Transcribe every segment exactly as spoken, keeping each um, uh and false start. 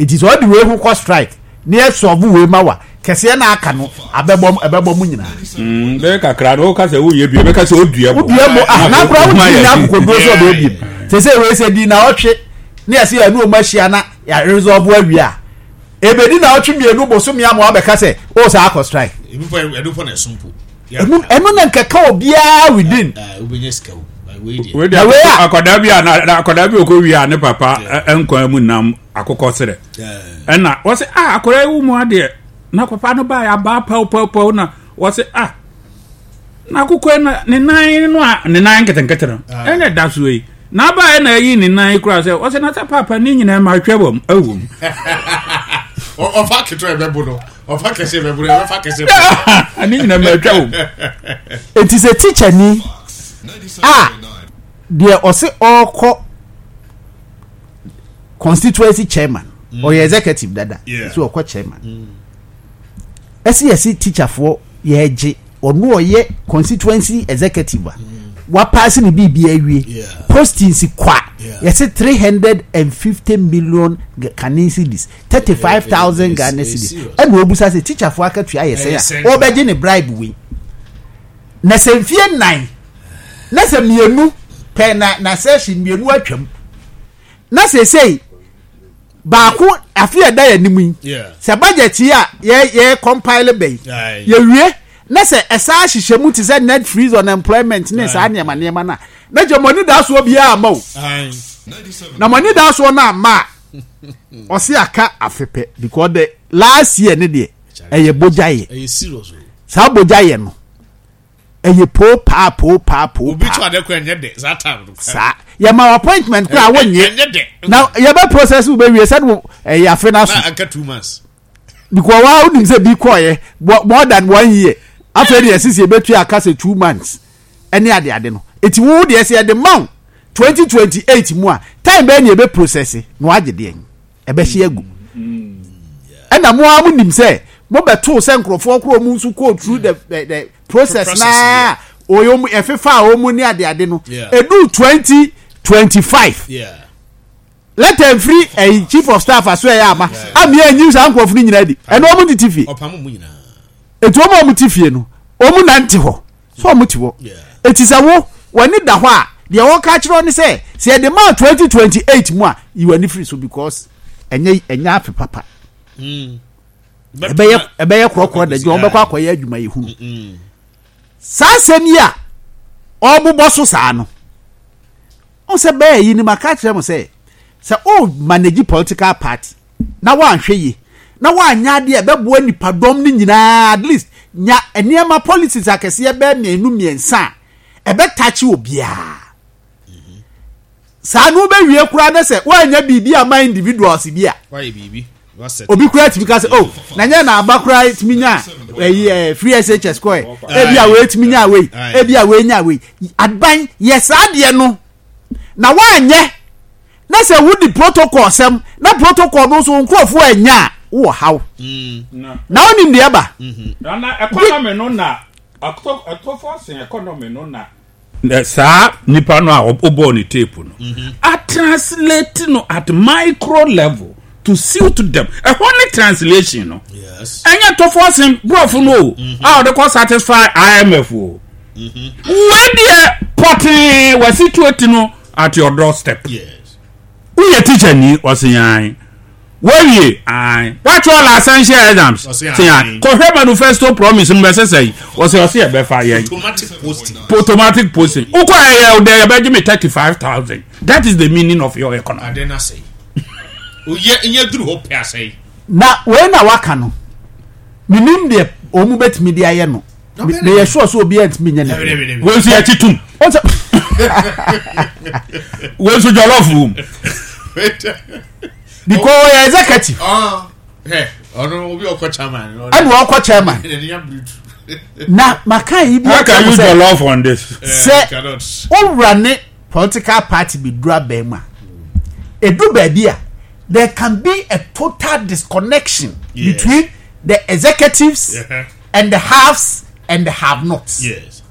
Eti sɛ ɔde wei ho kɔ strike ne yɛ solve wei ma wa kɛseɛ na aka no, abɛbɔ ɛbɛbɔ mu nyinaa. Mm, bɛyɛ kakra no, woka sɛ woyɛ bi, bɛka sɛ odua bo. Wodua bo ah, na akora wotumi nya akokoduro sɛ ɔbɛyɛ biem sɛ sɛ wei sɛ di na ɔtwe ne yɛsɛ yɛne ɔmu ahyia na yɛresolve awie a, ebedi na ɔtwe mmienu bosome ama wabɛka sɛ o saa akɔ strike. Ebi po, ɛno po na ɛso mpo. ɛno ɛno na nkɛka obiara within. Wobɛnya sika o. Wei deɛ. Wei Na wei deɛ, a- akwadaa bi a na na- akwadaa bi a ɔkɔ wie a ne papa ɛ- nkwan mu nam akokɔ serɛ, ɛna wɔsɛ ah, akwadaa yi wo mu adeɛ, na papa no baa abaa pɛwpɛwpɛw, na wɔsɛ ah, na akokɔ yi na ne nan no a ne nan nketenkete no ɛna ɛda so yi, na abaa yɛ na ayi ne nan kura sɛ wɔsɛ na sɛ papa ne nyinaa ma ahwɛ wɔ mu ɛwɔ mu. Ɔ- ɔfa ketewa ɛbɛbo no, ɔfa kɛse ɛbɛbo no, ɛbɛfa kɛse ɛbɛbo. Ne nyinaa ma atwa wɔ mu. Eti sɛ teacher ni a deɛ ɔse ɔrekɔ constituency chairman, ɔyɛ executive dada. Yeah. So ɔkɔ chairman, ɛsi yɛsi teacherfoɔ yɛgye ɔno ɔyɛ constituency executive a wapaase ne biribi awie, Yeah. postings kwa, Yeah. yɛsi three hundred and fifty million Ghanaian cedis, thirty five thousand It's- Ghana it's cedis. serious. Ɛna obusa sɛ teacherfoɔ akatua yɛ Ɛyɛ sɛn sɛn? A ɔbɛgye ne bribe wei na sɛ mfie nnan na sɛ mmienu pɛ na na session mmienu atwam na sesei baako afe a ɛda yɛn anim yi, Yeah. sɛ budget yi a yɛ yɛ compile bɛyi, Aye. yɛwie na sɛ ɛsaa hyehyɛ mu te sɛ net freeze on employment ne saa nneɛma nneɛma no a, na gye mo ani da soɔ biara ama o. Aye. Na mo ani da soɔ no ama a, ɔse aka afe pɛ, because the last year ne deɛ ɛyɛ bogya yɛ. Ɛyɛ serious o. Saa bogya yɛ no ɛyɛ poo paa poo paa poo Obi to paa. ade kora, ɛnyɛ dɛ saa time no. Saa yɛma appointment koraa wonyɛ. Ɛnyɛ dɛ. Na yɛbɛ process wo bɛwie sɛde wo ɛyɛ afe no aso. Na anka two months. Because wa wonim sɛ bi kɔɔyɛ more than one year, afei deɛ sisi ebetua aka sɛ two months ɛne ade ade no. Eti wo deɛ sɛ yɛde ma wo twenty twenty eight mu a, time bɛyɛ ne yɛbɛ process na wagye deɛ ɛbɛhye agu. Ɛna mo a mo nim sɛ mo bɛto sɛ nkurɔfoɔ koro mu nso go through the the, the process Process. Naa oyɛ mu ɛfefa a wɔn ne ade ade no, Yeah. edu twenty twenty five Yeah. letter nfiri ɛyi chief of staff aso ɛyɛ ama ami ɛnyi saa nkurɔfoɔ no nyinaa di ɛna wɔn tete fie. Ɔpam mu nyinaa. Etu wɔn a wɔn te fie no, wɔn nante hɔ so wɔn te hɔ. Yeah. Eti sɛ wo w'ani da hɔ a, deɛ wɔka kyerɛ ne sɛ sɛ yɛde maa twenty twenty eight mu a, yi w'ani firi so, because ɛnyɛ ɛnyɛ afe papa. ɛbɛyɛ ɛbɛyɛ korɔkorɔ da dwa wɔn bɛkɔ akɔyɛ adwuma yɛ hunu saa asɛm yi a ɔbobɔ so saa no. Ɔn sɛ bɛyɛ yi ni ma ka kyerɛ mo sɛ sɛ o manage political party na wanhwɛ yie na wanyɛ adeɛ a ɛbɛboa nipadɔm no nyinaa, at least nya nneɛma policies akɛseɛ bɛɛ mmienu mmiɛnsa a ɛbɛtakye obiara saa no, wobɛwie koraa ne sɛ woanya biribi ama individuals bi a Wayɛ biribi. Wasɛ. Obi koraa tumi ka sɛ, oh, na nyɛ na aba koraa tumi nya ɛyi ɛ free S H S kɔɛ, ebi a wei tumi nya wei, ebi a wei nya wei. Aban yɛ saa deɛ no na woanyɛ na sɛ wodi protocol sɛm na protocol no nso nkurɔfoɔ anya a, wowɔ haw na wonim deɛ ɛba. Na economy no na ɛtɔfo sen economy no na saa nipa no a ɔbɔɔ ne tape no a translate no at micro level to suit them, ɛhɔ ne translation no. Yes. Ɛnyɛ tɔfo sen borɔfo no o a ɔde kɔ satisfy I M F o. Wei deɛ pɔtee wɔ situate no at your doorstep. Yes. Woyɛ teacher ni, ɔse yan wawie ae, watwerɛ la essential exams. Ɔse se ae. yan kɔhwɛ manifesto promise no bɛsɛ sɛ ɔsɛ ɔse yɛbɛfa yɛn Automatic posting. Automatic posting wokɔ ɛyɛ wodɛ yɛbɛgye me thirty five thousand. That is the meaning of your economy. Ade na sɛyi. Oyɛ nyɛ duru hɔ pɛ asɛyi. Na wei na waka no, menim deɛ wɔn mu bɛtumi de ayɛ no. Meyɛ sure sɛ obiara ntumi nyɛ ne. Wei nso yɛkye tum. Ɔn sɛ Wei nso jollof wom. Because ɔyɛ executive. Ɔno obi ɔkɔ chairman. Ɛna ɔkɔ chairman na maka yi bi. How can you jollof on this? Sɛ owura ne political party bi duru abɛn mu a, edu baabi a there can be a total disconnection Yes. between the executives Yeah. and the haves and the have-nots. Yes.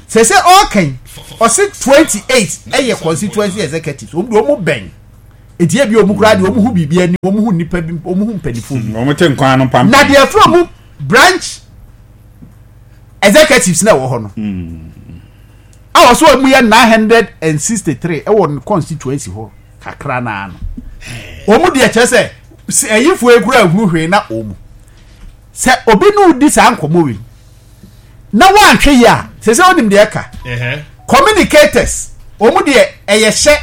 Sɛ sɛ ɔɔkan ɔsi twenty eight ɛyɛ constituency executives, wɔn de wɔn bɛn Eti ebi ɔmo koraa deɛ, ɔmo hu biribi anim, ɔmo hu nipa bi, ɔmo hu mpanimfoɔ bi. Wɔn te nkwan no pam. Na deɛ fúnra mu branch executives na ɛwɔ hɔ no a wɔsɔ wɔn yɛ nine hundred and sixty three ɛwɔ ne constituency hɔ kakra naa no, wɔn deɛ kyerɛ sɛ ɛyifoɔ ekura ehuru hwee na wɔn sɛ obi no di saa nkɔmɔ wi na wɔanhwɛ yi a, sɛ sɛ onim deɛ ɛka communicators, wɔn deɛ ɛyɛ hyɛ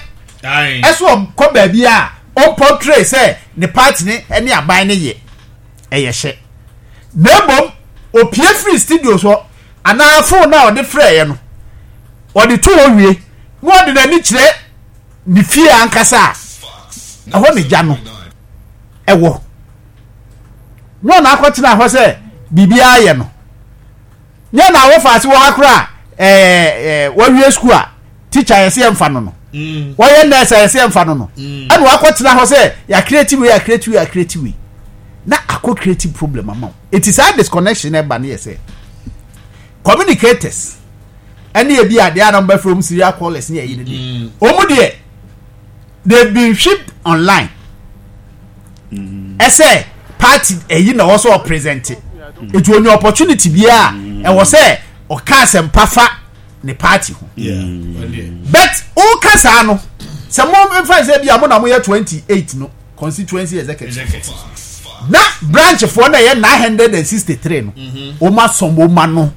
ɛso ɔkɔ baabi a ɔmpɔtire sɛ ne party ne ɛne aban ne yɛ ɛyɛ hyɛ, na ebom opie firi studio so anaa phone a ɔde frɛ yɛ no, ɔde to hɔ wie na ɔde n'ani kyerɛ ne fie ankasa a ɛhɔ ne gya no ɛwɔ, na ɔna akɔtena hɔ sɛ biribiara yɛ no nyɛ na awɔ faase wɔ ha koraa. ɛɛ ɛɛ wɔawie sukuu a, teacher yɛ sɛ yɛmfa no no wɔyɛ nurse a yɛ sɛ yɛmfa no no ɛna wakɔtena hɔ sɛ yɛacreate wei, yɛacreate wei, yɛacreate wei, na akɔ create problem ama wo. Eti saa disconnection ɛba no yɛ sɛ communicators ɛne ebi adeɛ a na wɔbɛfrɛ wɔn serial callers ne ɛyi ne deɛ, wɔn deɛ they been shipped online ɛsɛ party ɛyi na wɔsɔ ɔpresent, etu onye opportunity biara ɛwɔ sɛ ɔka asɛmpa fa ne party ho. But ɔka saa no sɛ mo nfa sɛ bi a mo na mo yɛ twenty eight no constituency executive na branch foɔ na ɛyɛ nine hundred and sixty three no, wɔn asɔn wɔn ano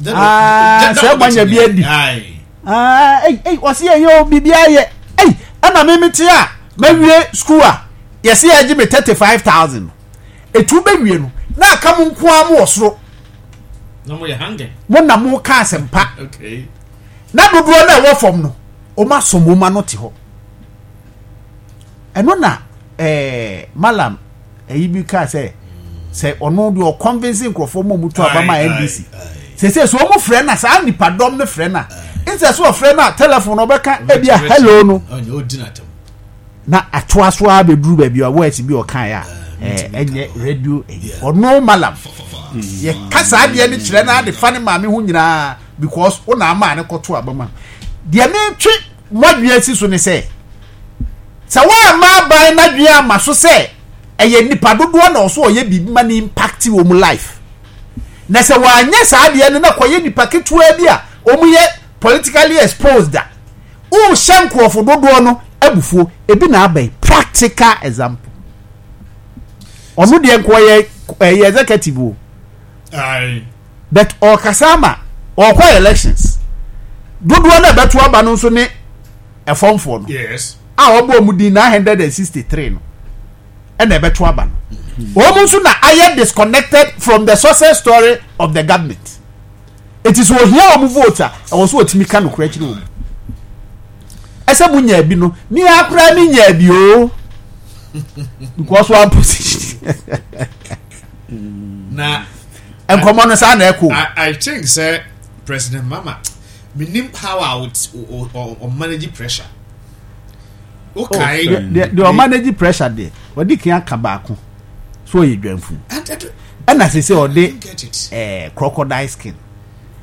sɛ mo anya bi adi ɛy ɛy wɔsi yɛ yɛ o, biribi ayɛ ɛy, ɛna mímí ti a mɛwie school a yɛsi yɛ gye mi thirty five thousand etu bɛwie no na aka mo nko ara mo wɔ soro. Na mo yɛ hanging. Mo na mo ka asɛmpa. Okay. Na dodoɔ na ɛwɔ fam no, wɔn asɔn wɔn ano te hɔ. Ɛno na ɛɛ malam ɛyi bi kaa sɛ sɛ ɔno deɛ ɔconvince nkurɔfoɔ mu a wɔn to aba ma N D C sese so wɔn frɛ na saa nipadɔm no frɛ na nsɛ so ɔfrɛ na telephone ɔbɛka ebi a hello no Ɔnyɛ odi n'atam. Na atoa so a bɛduru baabi a words bi ɔkaeɛ a ɛɛ, ɛnyɛ radio ɛyi. Ɔno malam yɛka saa adeɛ no kyerɛ no ade fa ne maame ho nyinaa because wo na ama ne kɔto aba ma deɛ metwe mo si so ne sɛ sɛ woamma aban n'adwene ama so sɛ ɛyɛ nipa dodoɔ na ɔso ɔyɛ biribi ma ne impact wɔ mu life, na sɛ wɔanyɛ saa adeɛ no na kɔyɛ nipa ketewa bi a wɔn yɛ politically exposed a, wohyɛ nkurɔfo dodoɔ no abufuo. Ebi na aba yi, practical example, ɔno deɛ nko ɔyɛ ɛyɛ executive o, Aye. but ɔkasa ama ɔkɔ elections, dodoɔ no a ɛbɛto aba no nso ne ɛfɔmfoɔ no Yes. a ɔbɔ ɔmo din nine hundred and sixty three no ɛna ɛbɛto aba no, wɔn nso na ayɛ disconnected from the success story of the government. Eti sɛ ohia wɔn vote a, ɛwɔ so otumi ka nokorɛ kyerɛ wɔn ɛsɛ mo nya bi no ne akora ne nya bi o, because one position. Na nkɔmɔ no saa na ɛkɔ. I, I think sɛ President Mahama, minim how I would or, or, or manage pressure. Okay. deɛ deɛ ɔmanage pressure deɛ, ɔde kan aka baako so ɔyɛ dwanfu And, and, ɛna sɛ sɛ I ɔde don't get it. ɛɛ crocodile skin.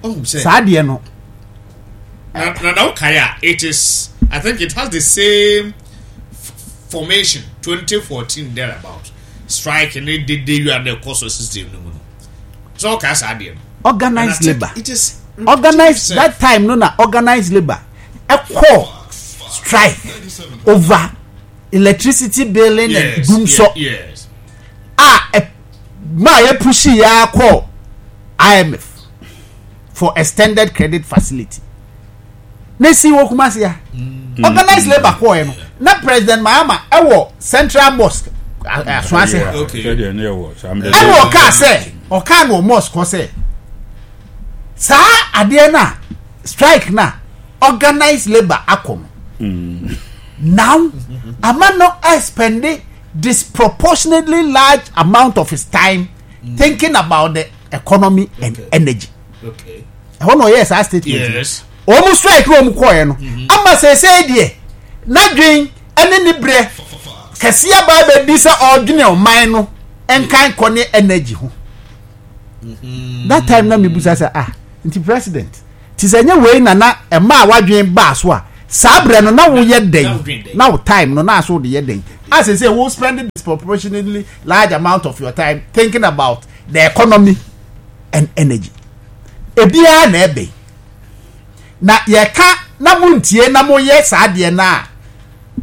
Oh, sɛ. Saa deɛ no. Na na na okay, a, it is, I think it has the same f- formation twenty fourteen thereabout. Strike ne dede you and the cost of system no mu no. So okay, saa deɛ no. Organized And I think labour it is organized that time no na organized labour ɛkɔ strike over electricity billing and Yes. dumsɔ Yes. a ɛ maa yɛ push yɛ akɔ I M F for extended credit facility ne si wɔ Kumasi a organized labour kɔɔ yɛ no, na President Mahama ɛwɔ Central Mosque Asoase ha. Okay. Sɛdeɛ ne yɛwɔ saa mmerɛ. Ɛna ɔkaa sɛ ɔkaa no wɔ mosque hɔ sɛ saa adeɛ no a strike na organized labour akɔ no now ama no expend disproportionately large amount of his time thinking about the economy and Okay. energy. Okay. Ɛhɔ na ɔyɛ saa statement. Yes. Wɔn strike na wɔn kɔɛ no ama seesei deɛ n'adwen ɛne ne brɛ kɛseɛ aba abɛdi sɛ ɔredwene ɔman no nkan kɔ ne energy ho. That time na mibusa sɛ, ah, nti president ti sɛ nye wei na na ɛma a wadwen baa so a Saa berɛ no na woyɛ dɛn? Na wo time no na aso wode yɛ dɛn? As I say, wo spend disproportionately large amount of your time thinking about the economy and energy. Ebiara na ɛbɛn. Na yɛka na montie na moyɛ saa deɛ no a,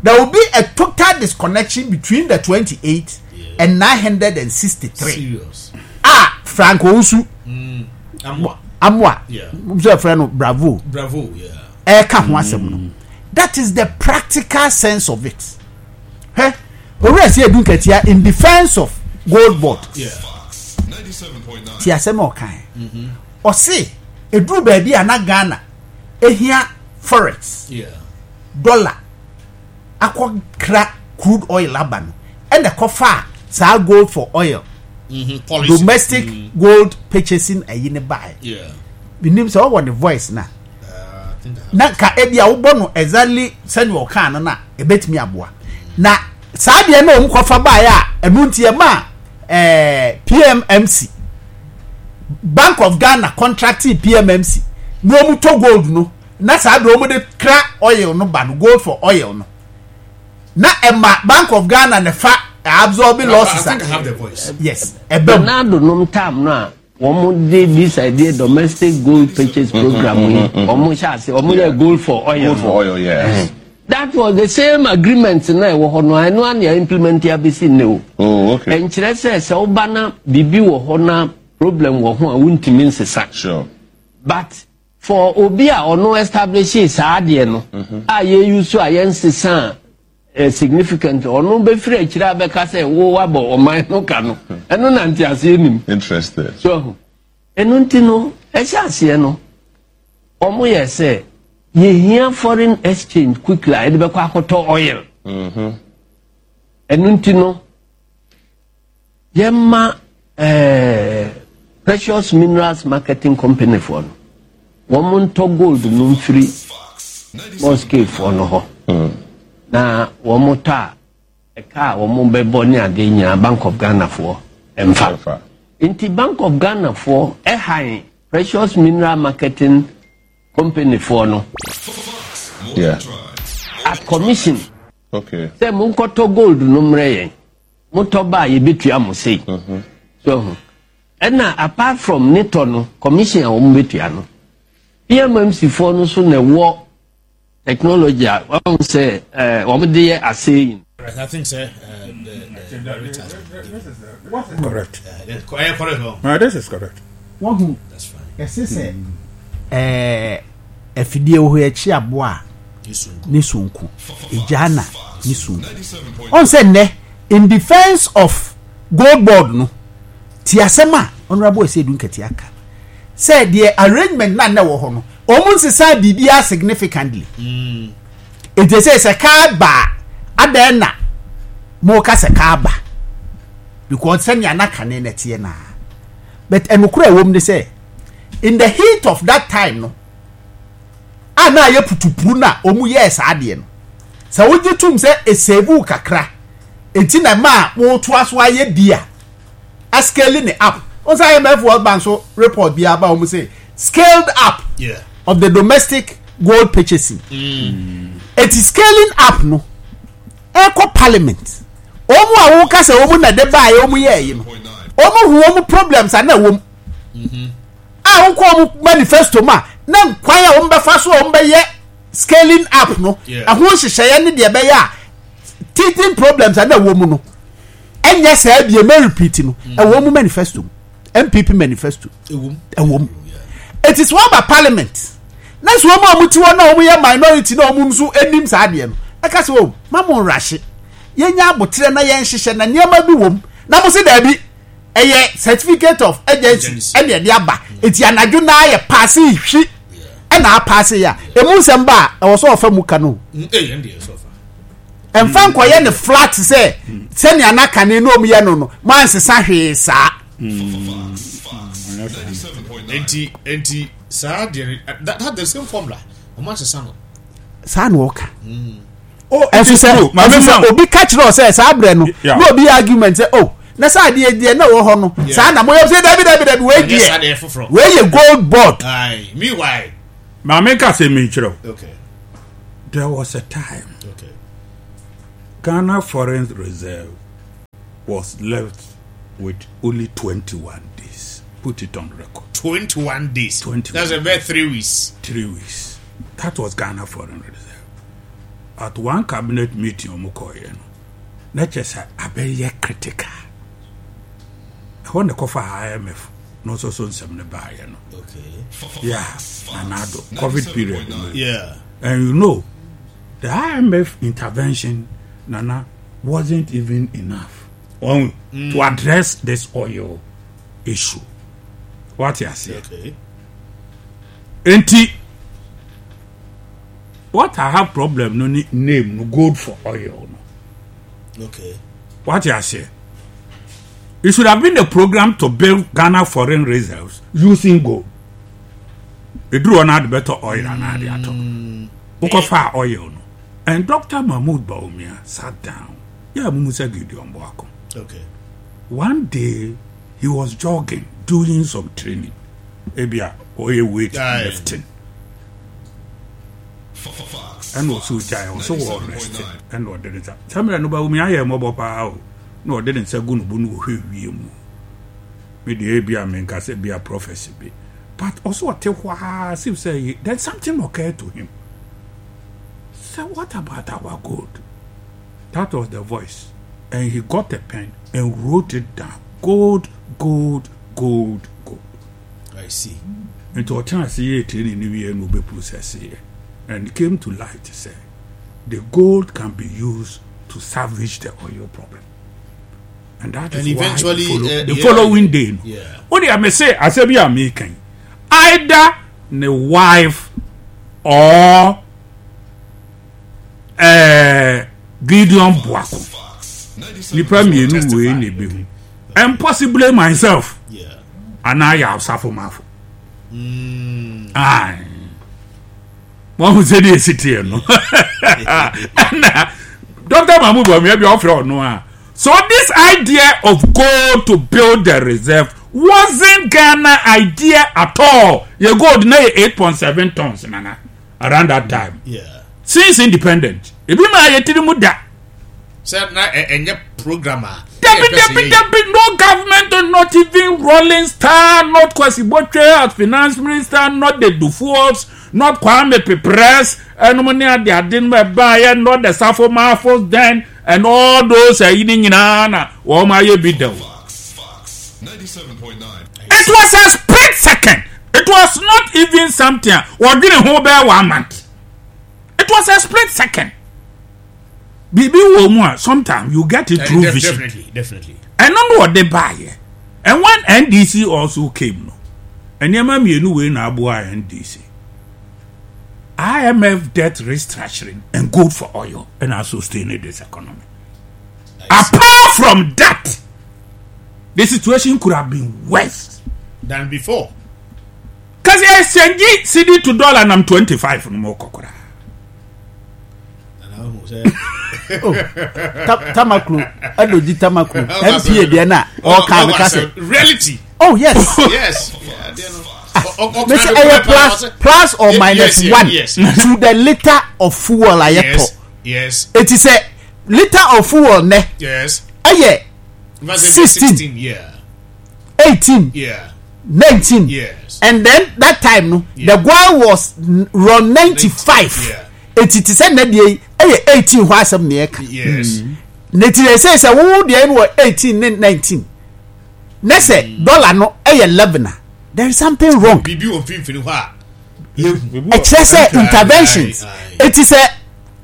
there will be a total disconnection between the twenty-eight yeah. and nine hundred sixty-three. Serious. Ah, Frank Owusu. Mm. Amoa. Amoa. Yeah. So friend Bravo. Bravo, yeah. Eka ho asɛm no. That is the practical sense of it. Heh. Owura si edu nkatia in defense of gold board. Yeah. Ti asɛm a ɔkan. Ɔse eduru baabi a na Ghana ehia forex. Yeah. Dollar akɔkra crude oil aba no ɛna kɔfa saa gold for oil. Mm-hmm. Policy. Domestic mm. gold purchasing ayi ne bae. Yeah. Binim sɛ ɔwɔ ne voice na. Uh, na ka ebi a wobɔ no exactly sɛnea ɔkaa no na ebetumi aboa. Na saa deɛ na wɔn kɔfa bae a ɛno nti ɛma ɛɛ P M M C Bank of Ghana contracting P M M C na wɔn tɔ gold no na saa deɛ wɔn de kra oil no ba no gold for oil no na ɛma Bank of Ghana ne fa absorbing losses. I think I have the voice. Yes. Ɛbɛm. Ronaldo nom tam no a wɔn de this idea domestic gold purchase program yi wɔn hyɛ ase wɔn yɛ gold for oil. Gold for oil, yes. That was the same agreement na ɛwɔ hɔ no ɛno a na implement abesi ne o. Oh, okay. Nkyerɛ sɛ sɛ ɔba na biribi wɔ hɔ na problem wɔ ho a wuntumi nsesa. Sure. But for obi a ɔno establish saa adeɛ no a yɛ use a yɛn sesa a significant ɔno bɛfiri akyire abɛka sɛ wo wabɔ ɔman no ka no ɛno na nte aseɛ nim. Interested. So ɛno nti no ɛhyɛ aseɛ no ɔmo yɛ sɛ yɛhia foreign exchange quickly a yɛde bɛkɔ akɔtɔ oil. Ɛno nti no yɛma ɛɛ Precious Minerals Marketing Company foɔ no wɔn ntɔ gold no mfiri mosque foɔ no hɔ na wɔn tɔ a ɛka a wɔn bɛbɔ ne adeɛ nyinaa Bank of Ghana foɔ mfa. Nti Bank of Ghana foɔ ɛhan Precious Mineral Marketing Company foɔ no. Yeah. At commission. Okay. Sɛ mo nkɔtɔ gold no mmerɛ yɛn mo tɔ ba a yɛbɛtua mo sei. So ɛna apart from ne tɔ no commission a wɔn bɛtua no P M M C foɔ no so na ɛwɔ technology a wɔn sɛ ɛɛ wɔn de yɛ asɛyin. I think sir, uh, the, the, the correct. Uh, correct. Uh, this is correct. Wahu. That's fine. Ɛsɛ sɛ ɛɛ afidie wɔ hɔ akyi aboa ne sonko egya na ne sonko. Ɔn sɛ nnɛ in defence of gold board no ti asɛm a honourable Asiedu Nketia aka sɛ deɛ arrangement na na wɔ hɔ no wɔn nsesa biribiara significantly. Eti sɛ sɛ kaa ba adan na mo ka sɛ kaa ba because sɛnea na kane na teɛ naa but ɛnukura ɛwɔ mu ne sɛ in the heat of that time no a na ayɛ putupuru na wɔn yɛɛ saa adeɛ no sɛ wogye tum sɛ esevu kakra eti na mmaa wɔtoa so ayɛ bi a ascaling ne up wɔn sɛ I M F World Bank so report bi aba wɔn sɛ scaled up yeah. of the domestic gold purchasing. Mm. It is scaling up no. Ɛkɔ parliament. Wɔn a wɔka sɛ wɔn na de baa yɛ wɔn yɛ ɛyi no. Wɔn hu wɔn problems a na wɔm. A wɔkɔ wɔn manifesto mu a na nkwan a wɔn bɛfa so a wɔn bɛyɛ scaling up no. Ɛho nhyehyɛeɛ ne deɛ ɛbɛyɛ a teething problems a na wɔm no. Ɛnyɛ saa bie mɛ repeat no. Ɛwɔ wɔn manifesto mu. M P P manifesto. Ɛwɔ mu. It is one by parliament. Na so wɔn a wɔn ti hɔ na wɔn yɛ minority na wɔn nso anim saa adeɛ no. Ɛka sɛ o ma mo nrahye. Yɛnya abotrɛ na yɛn hyehyɛ na nneɛma bi wɔ mu. Na mo se daabi ɛyɛ certificate of agency ɛna ɛde aba. Eti anadwo naa yɛ paase hwi ɛna apaase yɛ a. Emu nsɛm ba a ɛwɔ sɛ ɔfa mu ka no. Ɛnfa nkɔyɛ ne flat sɛ sɛnea n'akane na wɔn yɛ no no mo ansesa hwee saa. Enti enti saa deɛ that that the same formula ɔmo asesa no. Saa na ɔka. Ɛso sɛ ɛso sɛ obi ka kyerɛ ɔsɛ saa abirɛ no na obi argument sɛ oh na saa adeɛ deɛ na ɛwɔ hɔ no saa na mo yɛ sɛ dabi dabi dabi wei deɛ wei yɛ gold board. Meanwhile. Maame ka sɛ mi nkyerɛ o. There was a time Okay. Ghana Foreign Reserve was left with only twenty-one days. Put it on record. Twenty-one days. twenty-one. That's about three weeks. Three weeks. That was Ghana Foreign Reserve. At one cabinet meeting, ɔmo kɔɔyɛ no, na kyerɛ sɛ abɛyɛ critical. Ɛhɔ na ɛkɔfa I M F na ɔsɔ so nsɛm no baayɛ no. Okay. Yeah, Nana Addo, COVID period no. Yeah. And you know, the I M F intervention, Nana, wasn't even enough on, mm. to address this oil issue. What you say? Okay. Enti, what I have problem no name no gold for oil no. Okay. What you say? It should have been a program to build Ghana foreign reserves using gold. Eduru on had better oil and had mm. Wokɔfa oil no. And Doctor Mahmoud Bawumia sat down. Yeah, Mumusa Gideon Boako. Okay. One day he was jogging, doing some training. Ebia, oil weight lifting. Ɛna ɔsɛ ogyae ɔsɛ wɔ rest, ɛna ɔde ne nsa sɛ mmerɛ no Bawumia ayɛ mmɔbɔ paa o, na ɔde ne nsa gu ne bo no wɔhwɛ wie mu. Me deɛ, ebi a menka sɛ bi a prophecy bi, but ɔsɛ ɔte hɔ a sif sɛ then something occurred to him so, "What about our gold?" That was the voice, and he got a pen and wrote it down: gold, gold, gold, gold. I see. Nti ɔtena ase yɛ training ne wie na ɔbɛ process yɛ, and it came to light sɛ the gold can be used to salvage the oil problem, and that and is eventually, why the, follow, uh, the yeah, following day no yeah. o de ame se asɛ bi a mi kan either ne wife or uh, Gideon Boako, nipa mmienu wei na ebi hu, and possibly myself Yeah. anaa yɛ Asafo Maafo. Aye, wɔn ho sɛ de esi teɛ no, ɛna Doctor Mahmoud Bawumia bi ɔfrɛ ɔno a. So this idea of gold to build the reserve wasn't Ghana idea at all. Yɛ gold na yɛ eight point seven tons, Nana, around that time. Yeah. Since independent, ebi maa yɛ tiri mu da. Sɛ na ɛ- ɛnyɛ program a. Dabi, dabi, dabi, no government, not even Rawlings Star, not Kwasi Botchwey as finance minister, not the Duffuors, not Kwame Peprah, ɛnum ne ade ade no ɛbaayɛ, not the Safo Mafos then, and all those ɛyi ne nyinaa na wɔn ayɛ bi da o. Fox ninety-seven point nine. It was a split second. It was not even something a wɔdwene ho bɛyɛ one month. It was a split second. Biribi wɔ mu a sometimes you get it through vision. Definitely, definitely. Ɛno no ɔde baayɛ, and when N D C also came no, nneɛma mmienu wei na aboa N D C: I M F debt restructuring and gold for oil, ɛna sustain this economy. Apart from that, the situation could have been worse than before. Kasi exchange cedi to dollar nam twenty five no mo kɔkɔra. Nana ahu sɛ Oh, Ta- tamaklo Edudzi Tamaklo N P A deɛ na ɔka mi ka sɛ reality. Oh yes. Yes. Yeah, adeɛ no. Ɔ- ɔ- me sɛ ɔka ɛyɛ no plus plus or Yes, minus yes, one yes. to the litre of fuel a yɛtɔ. Yes. Yes. Eti sɛ litre of fuel nɛ Yes. ɛyɛ sixteen. sixteen. Yeah. Eighteen, Yeah. nineteen, Yes. and then that time no, Yeah. the goil was run ninety five. Yeah. Eti ti sɛ nɛ deɛ yi ɛyɛ eighteen hɔ asɛm na yɛka. Yes. Ne ti sɛ sɛ wo deɛ no wɔ eighteen ne nineteen ne sɛ dollar no ɛyɛ eleven a, there is something wrong. Biribi wɔ mfimfini hɔ a. Ɛkyerɛ sɛ interventions. Aye, aye. Eti sɛ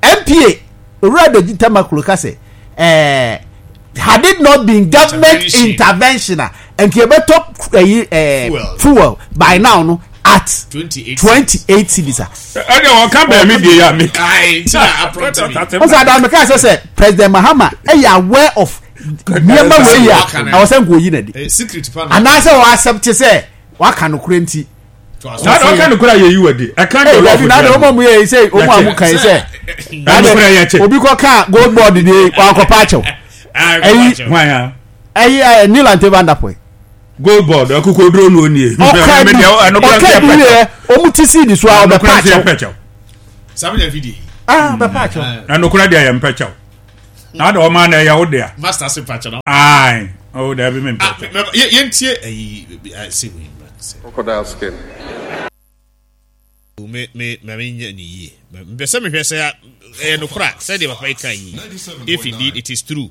N P A Owura Edudzi Tamaklo ka sɛ ɛɛ had it not been government intervention, intervention a, nka yɛbɛtɔ ɛyi ɛɛ fuel. Fuel by now no at twenty-eight. twenty eight cedis a. Ɛdeɛ wɔka bɛn mi deɛ yɛ a mi. Aye. Nti na aprɔnti mi. Wọ́n sọ adamu ká sɛ sɛ President Mahama ɛyɛ aware of nneɛma wei yi a ɛwɔ sɛ nko oyi na di Eh, secret pa na. anaasɛ wɔ accept sɛ waka no kure nti. To aso. Saa de ɔka no kora yɛ yi wɔ di ɛka Ee jollof. dabi, na de wɔn a mu yɛ yi sɛ wɔn a mu kan yi sɛ Ɛno kora yɛ kyɛ. Obi kɔ kaa gold board de wakɔpa akyɛw. Aye, Ɛyi- Hwan a? Ɛyi ɛ Nii Lante Vanderpuye. Gold board akoko duro no onie. Ɔka bi ɔka bi yɛ ɔmu ti si di so a ɔbɛpa akyɛw. Pɛkyɛw. Sábẹ́ video yi. Ah, bɛpa akyɛw. Na nokora deɛ yɛ mpɛkyɛw. Na ade ɔma na ɛyɛ wo dea. Master se pakyɛ no. Ae. Oh, dabi me mpɛkyɛw. Yɛntie ayi se wei. Crocodile skin. Me me me nyɛ ne yie. Mpɛ sɛ mehwɛ sɛ ɛyɛ nokora sɛdeɛ papa yi ka yi. If indeed it is true.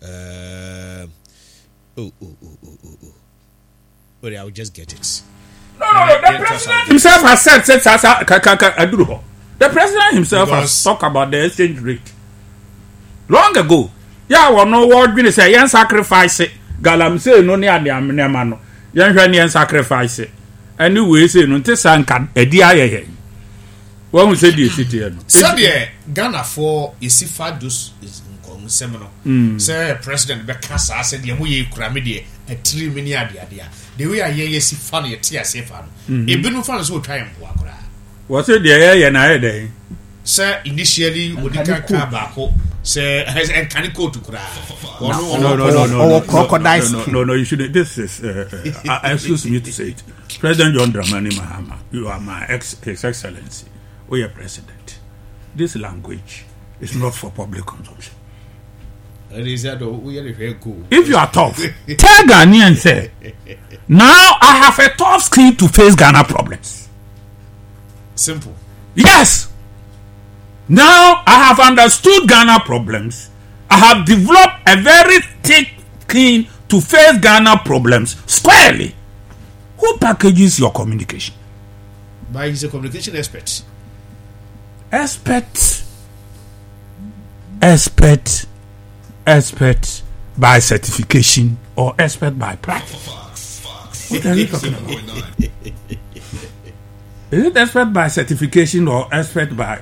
Uh, oh, oh, oh, oh, oh, oh. But I will just get it. No, no, no. The president himself has said, said, sa, sa, ka, ka, ka, aduru. The president himself Because, has talked about the exchange rate long ago. Yeah, well, no word really say yen sacrifice it. Galamsey no ne ade amnema no. Yen hwe ne yen sacrifice it. Anyway, say no nte sanka edi ayeye. Won say the city no. Said Ghana for isifa dos nsɛm no. Sɛ president bɛka saa sɛ deɛ moyɛ kura me deɛ atiri me ne adeade a the way a yɛyɛ si fa no yɛte aseɛ fa no ebinom fa no sɛ ɔtwa yɛ mpoa koraa. Wɔ sɛ deɛ yɛyɛ na ayɛ dɛn? Sɛ initially ɔdi kan kaa baako sɛ ɛnkane kootu koraa. No, no, no, no, Ɔwɔ crocodile skin. No, no, you shouldn't. This is, uh, uh, excuse me to say it. President John Dramani Mahama, you are my ex, His Excellency, we are president. This language is not for public consumption. If you are tough, tell Ghanaians, say, now I have a tough skin to face Ghana problems. Simple. Yes. Now I have understood Ghana problems. I have developed a very thick skin to face Ghana problems squarely. Who packages your communication? But he's a communication expert. Expert. Expert. Expert by certification or expert by practice. Fox, Fox. What are you talking about? Is it expert by certification or expert by?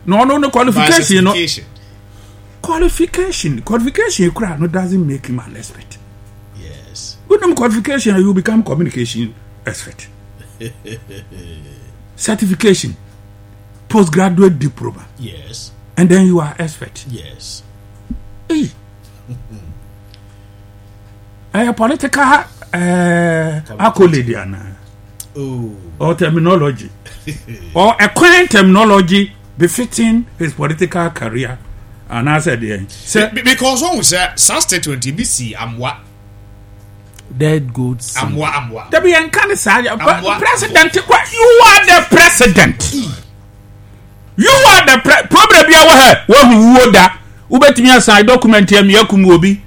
No, no, no qualification. By certification. No. Qualification, qualification. No, doesn't make him an expert. Yes. With no qualification, you become communication expert. Certification, postgraduate diploma. Yes. And then you are expert. Yes. Hey. A political uh, accolade, Anna. Oh. Or terminology. Or a current terminology befitting his political career. And I said, yeah. So, because one was a statement, B C, I'm what? Dead goods. I'm what? I'm what? There be uncanny, president. You are the president. You are the pre- problem. You are who that. Wobɛtumi asan document ya mi akum obi.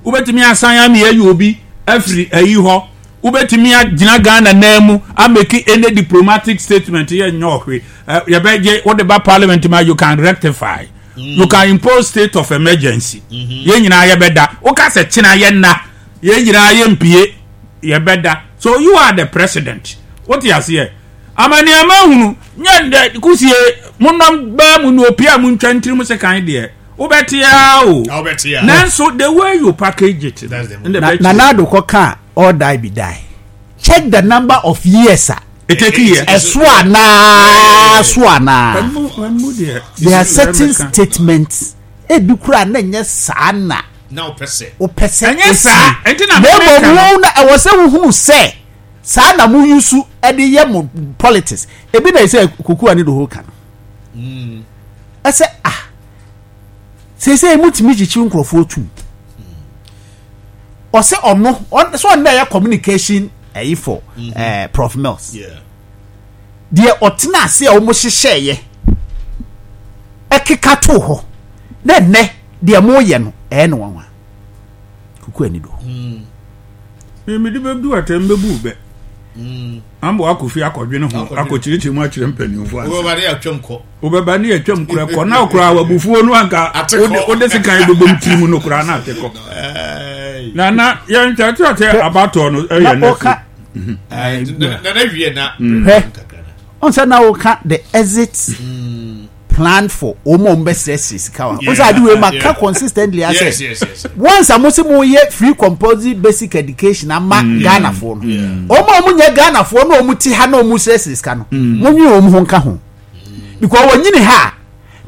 Wobɛtumi asan ami ayi obi afiri ayi hɔ. Wobɛtumi agyina Ghana nan mu ameki any diplomatic statement yɛ nyɛ ɔhwe. Yɛbɛgye wode ba parliament ma you can rectify. Mm. You can impose state of emergency. Yɛn nyinaa yɛbɛda. Woka sɛ kyena yɛ nna. Yɛn nyinaa yɛ mpie yɛbɛda. So you are the president. Wote aseɛ? Amani amahunu nyɛ kusie monam baa mu no opia mu ntwa ntiri mu sekan deɛ. Obetia o. Nanso the way you package it. That's the Nanado koka all die be die. Check the number of years. It take years. Eswa swana. There are certain statements. Ebi kura na nye sana. Na opese. Opese. Enye sa. Enti na me mo na e wo se hu se. Sana mu yusu e de ye mo politics. Ebi na say kuku ani do ho kan. Mm. E say ah. Say say mutimi chichi nkrofo otu. O say ono so on na communication eh for eh Prof Mills. Yeah. De otena ase a omo hyehyɛ ye. Ekeka to ho. Na ne de mo ye no eh no wanwa. Kuku ani do. Mm. Me me de bebu atem bebu be. Mm. Ambo akofi akodwene ho akokyirikyiri mu akyerɛ mpanimfo ase. Wo ba ne atwam kɔ. Wo bɛba ne atwam kura kɔ na okura wabufuo no anka wo de sekan bebom tiri mu no kura na atekɔ. Na na yɛn kyerɛkyerɛ abato no ɛyɛ na oka. Na na wie na. On say na oka the exit plan for omo mbɛsrɛsrɛ sika wa. On say ade we maka consistently ase. Yes, yes, yes. Once a mo se mo ye free compulsory basic education ama Ghana for no. Omo omo nye Ghana for no omo ti ha na omo srɛsrɛ sika no. Mo nwi omo ho nka ho. Because wonyini ha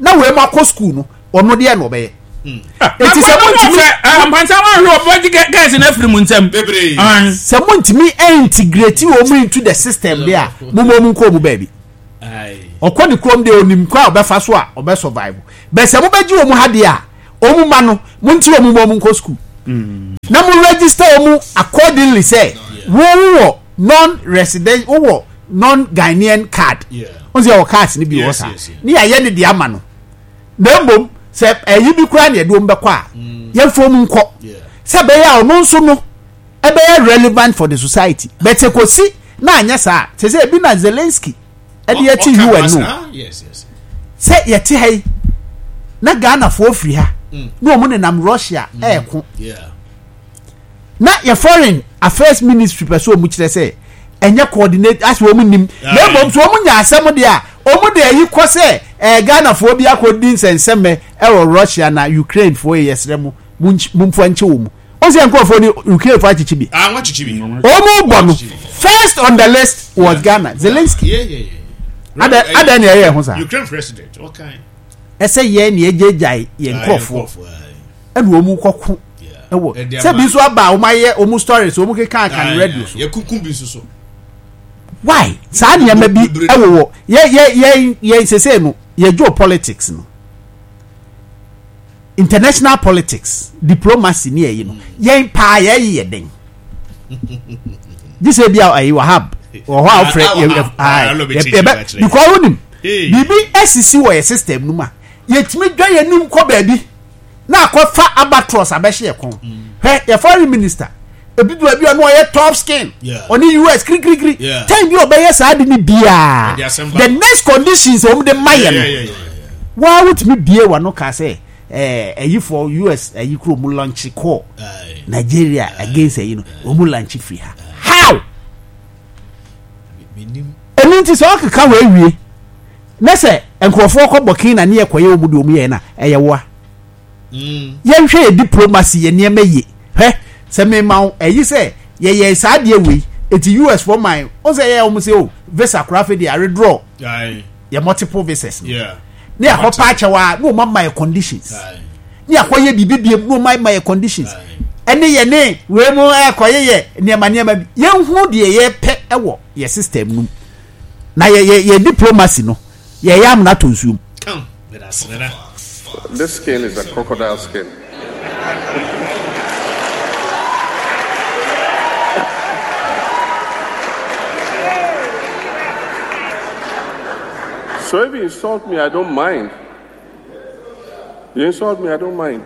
na we ma kɔ school no ono de na obeye. Eti se mo ntimi ampansa wa hwe obo guys na afiri mu nsem. Bebre. Se mo ntimi integrate omo into the system there. Mo mo nko mo baabi. Ai. Ɔkɔ ne kurom deɛ onim kwan a ɔbɛfa so a ɔbɛ survive. Bɛsɛ mobɛgye wɔn ha deɛ a wɔn ma no mo nti wɔn mu wɔn nkɔ school. Na mo register wɔn accordingly sɛ wɔn wɔ non resident wɔ non Ghanaian card. Wɔn sɛ yɛ wɔ cards ni bi wɔ saa. Ne yɛ ayɛ ne deɛ ama no. Na mmom sɛ ɛyi bi koraa na yɛde wɔn bɛkɔ a yɛmfa wɔn nkɔ. Sɛ bɛyɛ a ɔno nso no ɛbɛyɛ relevant for the society. But sɛ kɔsi na anyɛ saa sɛ sɛ ebi na Zelensky ɛde yɛte U N no sɛ yɛte ha yi na Ghanafoɔ firi ha na wɔn nenam Russia ɛɛko na yɛ foreign affairs ministry pɛ so wɔn kyerɛ sɛ ɛnyɛ coordinate asɛ wɔn nim na mmom so wɔn nya asɛm deɛ a wɔn de ayi kɔ sɛ ɛɛ Ghanafoɔ bi akɔdi nsɛnsɛmɛ ɛwɔ Russia na Ukraine foɔ yɛ yɛsrɛ mo mo mfa nkyɛ wɔn mu. O sɛ nkurɔfoɔ ni Ukraine fo akyekye bi. Wɔn bɔ no first on the list was yeah. Ghana Zelensky. Ada ada ni ɛyɛ ɛho saa. Ukraine president okay. Ɛsɛ yɛn ni ɛgyegyae yɛn nkurɔfoɔ ɛna wɔn kɔko ɛwɔ sɛ bi nso aba a wɔn ayɛ wɔn stories wɔn keka aka no radio so. Yɛ kunkun bi nso so. Why saa nneɛma bi ɛwɔ wɔ yɛ yɛ yɛ yɛ sese no yɛ geopolitics no. International politics diplomacy ni ɛyi no yɛn paa yɛyi yɛ den gye sɛ bi a ɛyi Wahab wɔ hɔ a wofrɛ yɛ yɛ because wonim biribi asisi wɔ yɛ system no mu a yɛtumi dwa yɛn anim kɔ baabi na akɔfa abatros abɛhyɛ yɛ kɔn hwɛ yɛ foreign minister ebi du baabi a ɔno ɔyɛ top skin ɔne U S kirikirikiri time bi ɔbɛyɛ saa de ne biara the next conditions wɔn de ma yɛ no waa wotumi bie wa no kaa sɛ ɛɛ ɛyifoɔ U S ɛyi kuro mu launch call Nigeria against ɛyi no wɔn mu launch firi ha how ɛnu nti sɛ ɔkeka wɔ ewie ne sɛ nkurɔfoɔ kɔ Burkina ne yɛ kɔyɛ wɔn de wɔn yɛ na ɛyɛ wa yɛnhwɛ yɛ diplomacy yɛ nneɛma yie hwɛ sɛ mema wo ɛyi sɛ yɛyɛ saa adeɛ wei eti U S for man o sɛ yɛ wɔn sɛ o visa koraa afei deɛ aredraw yɛ multiple visas no ne akɔ pa akyɛw a ne wɔn ama yɛ conditions ne akɔ yɛ biribi biem ne wɔn ama yɛ conditions ɛne yɛ ne wei mu ɛkɔ yɛ yɛ nneɛma nneɛma bi yɛn hu deɛ yɛpɛ ɛwɔ yɛ system no mu na yɛ yɛ yɛ diplomacy no yɛ yɛ amuna to nsuom. This skin is a crocodile skin. So if you insult me, I don't mind. You insult me, I don't mind.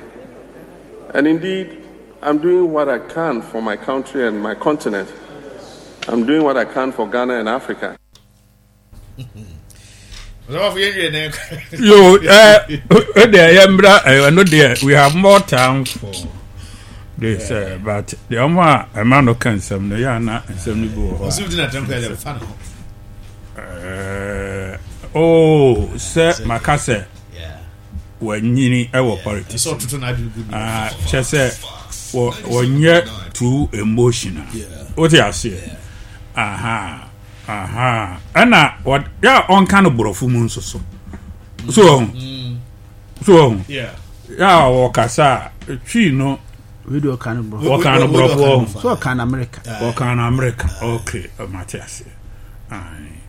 And indeed, I'm doing what I can for my country and my continent. I'm doing what I can for Ghana and Africa. Yo, eh, eh, we have more time for this, uh, but the Oma, a man who can some, the Yana, and some oh, sir, Makase, when you our politics, ah, Chese, when you're too emotional. What do you say? Aha. Aha, and what? Yeah, on kind of brofu moon so so. So, so, yeah, yeah, or Kasa, tree no, we do a kind of brofu, what kind of brofu, so kind America, what kind of America, okay, Matthias, aye,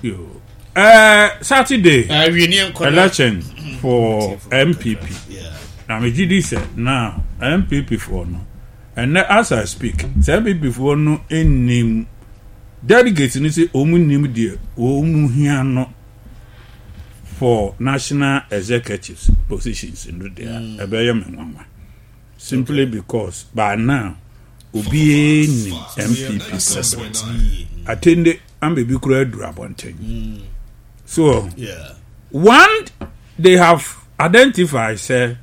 you, uh, Saturday, election for M P P. Now, G D said, now M P P for no, and as I speak, M P P for no in delegates ni say omu nim de omu hia no for national executives positions no there ebeye me nwanwa simply because by now obi ni M P P assessment attende am be kura aduru abonten so yeah, one they have identified say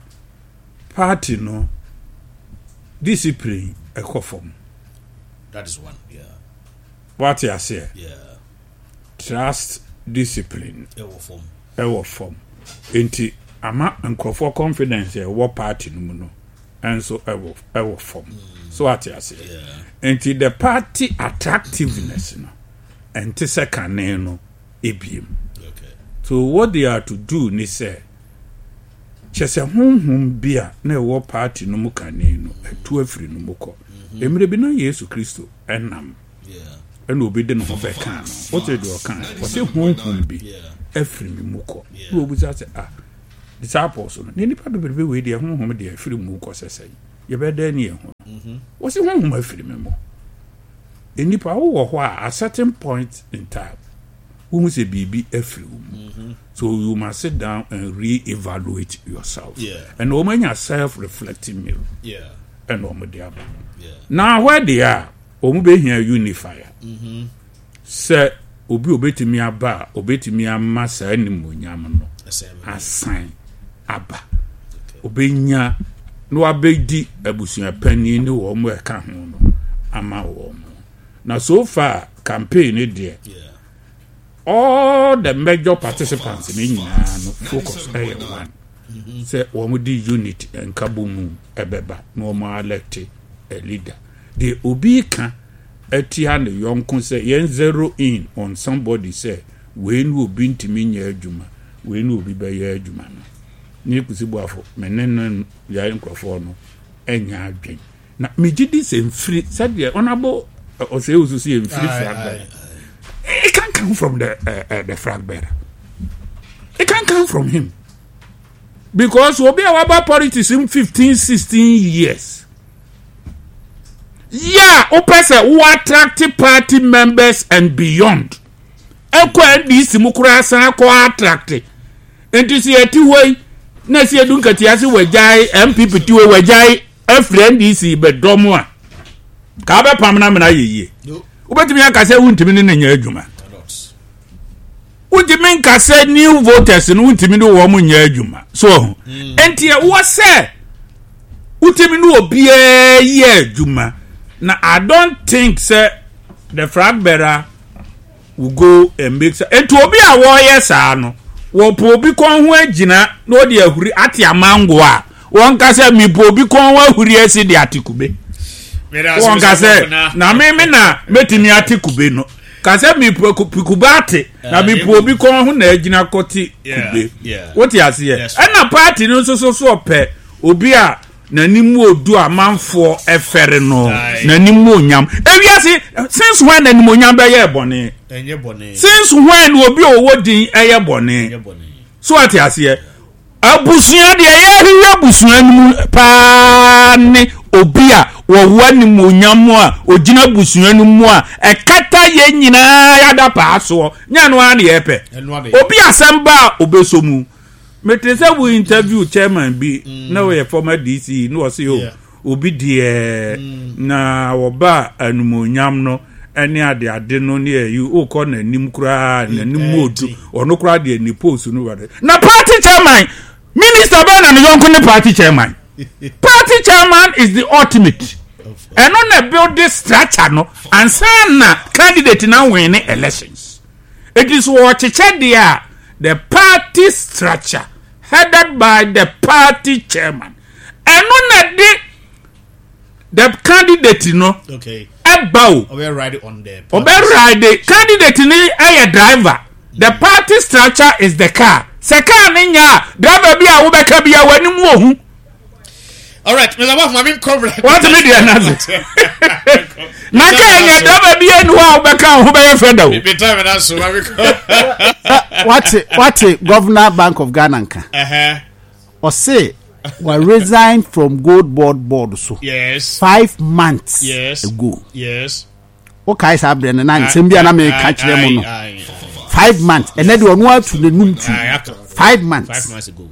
party no discipline ekofom. That is one. Yeah. What you say? Yeah. Trust discipline. Ewo form. Ewo form. Enti ama nkrofo confidence e wo party no mu no. Enso ewo ewo form. So what you say? Yeah. Enti the party attractiveness no. Enti second no ebiem. Okay. So what they are to do ni say chese honhom bia na ewo party no mu kane no etu afiri no mu kɔ. Emre bi na Yesu Kristo enam. Yeah. Ɛna obi de ne ho bɛka no. Wote deɛ ɔka no, ɔsɛ honhom bi afiri me mu kɔ. Na obisa sɛ, ah, disciples no, ne nipa bebrebe wei deɛ honhom deɛ afiri mu kɔ sɛ sɛn? Yɛbɛdɛn ne yɛn ho? Wɔsi honhom afiri me mu. Nipa wowɔ hɔ a, at certain point in time, wohu sɛ biribi afiri wo mu. So you must sit down and re-evaluate yourself. Yeah. And wɔn anya self-reflecting mirror. Yeah. Ɛna wɔn de aba. Yeah. Na hɔ deɛ a, wɔn bɛhia unifier. Sɛ obi obetumi aba a, obetumi ama saa animuonyam no asan aba. Obenya na wabɛdi abusuapanin ne wɔn a ɛka ho no ama wɔn. Na so far campaign ne deɛ, Yeah. all the major participants ne nyinaa no focus ɛyɛ one sɛ wɔn de unit nkabɔ mu ɛbɛba na wɔn elect a leader. Deɛ obi ka atia ne yɔnko sɛ yɛn zero in on somebody sɛ wei ne obi ntumi nyɛ adwuma, wei ne obi bɛyɛ adwuma no, ne Kusi Boafo me ne no yɛ nkurɔfoɔ no ɛnya adwen na megye di sɛ mfiri sɛdeɛ ɔnabɔ ɔsɛ ewusu sɛ mfiri flag bearer. It can't come from the uh, uh, the flag bearer. It can't come from him because obi a waba politics in fifteen sixteen years, yeah, wopɛ sɛ wo attract party members and beyond, ɛkɔ N D C mu koraa san kɔ attract. Nti sɛ yɛte hɔ yi na sɛ yɛdu nkatia se wagyae N P P ti hɔ, wagyae afiri N D C bɛdɔm a ka wobɛpam no amena yɛ yie. No. Wobɛtumi aka sɛ wontumi ne ne nyɛ adwuma. Cannot. Wontumi nka sɛ new voters no wontumi ne wɔn nyɛ adwuma so ɔho. Nti ɛwɔ sɛ wotumi ne obiara yɛ adwuma na I don't think sɛ the flag bearer will go and make sa. Nti obi a wɔreyɛ saa no, wɔpɔ obi kɔn ho agyina na ɔde ahuri ate amango a wɔn ka sɛ mepɔ obi kɔn ho ahuri asi de ate kube. Wɔn ka sɛ na me me na mɛtumi ate kube no ka sɛ mepɔ kube ate na mepɔ obi kɔn ho na agyina kɔte kube. Wote aseɛ? Ɛna party no nso so so ɔpɛ obi a n'anim odu, amanfoɔ ɛfɛre no, n'anim onyam. Ewiase, since when n'anim onyam bɛyɛ bɔne? Since when obi a ɔwɔ din ɛyɛ bɔne? So ate aseɛ? Abusua deɛ, yɛhwehwɛ abusua no mu paa ne obi a wɔwɔ animonyam a ogyina abusua no mu a ɛkata yɛn nyinaa yɛada paa soɔ nyɛ no ara ne yɛpɛ obi asɛm ba a obɛsɔ mu. Mete sɛ wo interview chairman bi na wɔyɛ former D C na wɔse o obi deɛ na wɔba animonyam no ɛne ade ade no ne ɛyi wokɔ n'anim koraa, n'anim odu ɔno koraa deɛ ne post no wade na party chairman, minister bɛn na ne yɔnko ne party chairman? Party chairman is the ultimate. Ɛno na build this structure no ansa na candidate na win ne elections. It is wɔkyekyɛ deɛ a, the party structure headed by the party chairman, ɛno na de the candidate no ɛba o. Ɔbɛ ride on the ɔbɛ ride. Candidate ni ɛyɛ driver, the party structure is the car. Sɛ car ne nya a, driver bi a wobɛka bi a w'anim wɔ hu. All right, Mister Bof, maame nkɔ. Wɔte mi deɛ n'ase na kaa nya driver bi enu hɔ a wobɛka wo ho bɛyɛ fɛ da o. Mi time na so, maame nkɔ. Wate wate Governor Bank of Ghana nka ɔse wa resign from Gold Board board so yes five months yes ago. Yes wokae saa berɛ no na nsɛm bi a na meka kyerɛ mu no five months, ɛnɛ deɛ ɔno atu n'anum tu five months. Five months ago.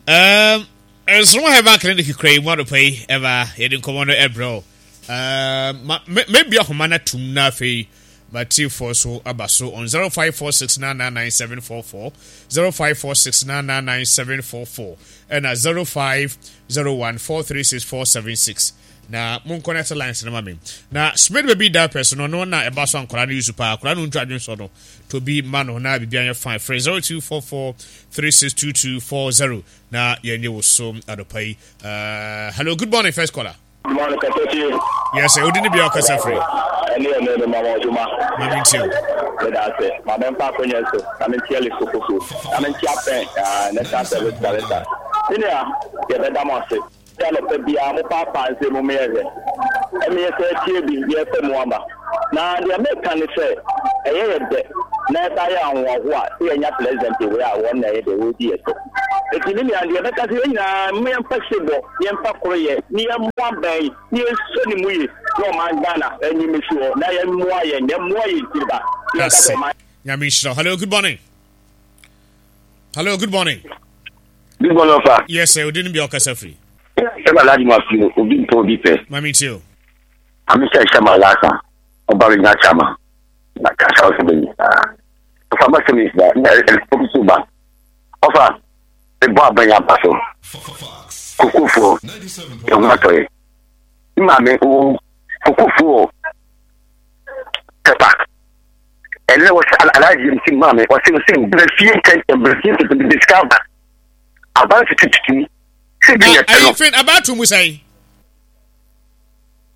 Um, Nsoroma Herbal Clinic kura yi mu adɔpa yi ɛba yɛde nkɔmɔ no ɛbrɛ o. Um, maybe ahoma no atum na afei matiefoɔ so aba so on zero five four six nine nine nine seven four four, zero five four six nine nine nine seven four four ɛna zero five zero one four three six four seven six. Na mo connect lines no ma me na Smith Baby diapers no no na ɛba so a nkwadaa no use paa. Akwadaa no ntwa adwene sɔ no to bi ma no na biribi anyɛ fine. Frɛ zero two four four three six two two four zero na yɛnyɛ wo so adɔpa yi. uh, hello, good morning, first caller. Morning, Katochi. Yes, sir. Odi ni bia ɔkasa firi? Ɛne ɛne ne mama ɔdwuma. Mami ntie o. Meda ase. Maame mfa akonnwa so. Na mentia Lisokoso. Na mentia pɛn National Service Director. Senior, yɛbɛda mo ase. Sɛ anɔpa biara mo paapaa nsɛm mu meyɛ hwɛ. Ɛmeyɛ sɛ atie bi yɛpɛ mu aba. Na deɛ meka ne sɛ ɛyɛ yɛ dɛ na ɛsa yɛ ahoɔhoa sɛ yɛnya president wei a wɔn na ɛyɛ deɛ wɔredi yɛ so. Eti me nua deɛ bɛka sɛ yɛn nyinaa mo yɛmfa sebɔ, yɛmfa koroyɛ, ne yɛmmoa bɛn, ne yɛnsɔ ne mu ye na ɔman Ghana anim si hɔ na yɛmmoa yɛn, yɛmmoa yɛn tiri ba. Yɛka sɛ ɔman Nyame nhyira. Hello, good morning. Hello, good morning. Good morning, sir. Yes, sir. Odin bi ɔkasa firi. Sɛ Alhaji Mafi obi mpɛ obi pɛ. Mami tie o. Ame sɛ hyɛ ma lasa ɔba mi nya chama na kasa ɔsɛ bɛ nyinaa. Ɔfa ma sɛ mi na na ɛfɔm so ba. Ɔfa ɛbɔ abɛn aba so. Kokofoɔ ɛho atɔ yɛ. Maame wo kokofoɔ pɛpa. Ɛnɛ wɔsɛ Alhaji mi si maame wɔsɛ wɔsɛ brɛ fie ntɛntɛn brɛ fie ntɛntɛn de sika aba. Aba tututu. Sɛ bi yɛ pɛ no. Ayi fin aba ato mu sɛn.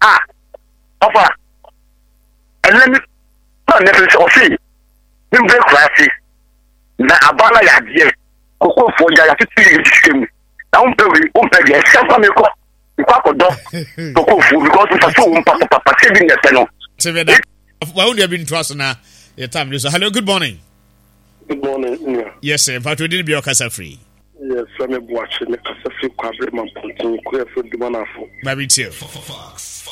Ah, ɔfa ɛnɛ mi na ne sɛ ɔse mi mbɛ kura ase na aba na yɛ adeɛ kokofoɔ gya yɛatutu yɛ sika mu na wompɛ wei wompɛ deɛ ɛsɛ fa mi kɔ mekɔ akɔdɔ kokofoɔ because mfa so wo mpapapapa sɛ bi nyɛ pɛ no. Tebe da wa wo nua bi ntoa so na yɛ time no so. Hello, good morning. Good morning, nua. Yes sir, mpatro di bi ɔkasa firi. Yes, sɛ me Boakye me kasa firi Kwabre Mampɔnten kuro yɛfrɛ Dumanafo. Mabi tie.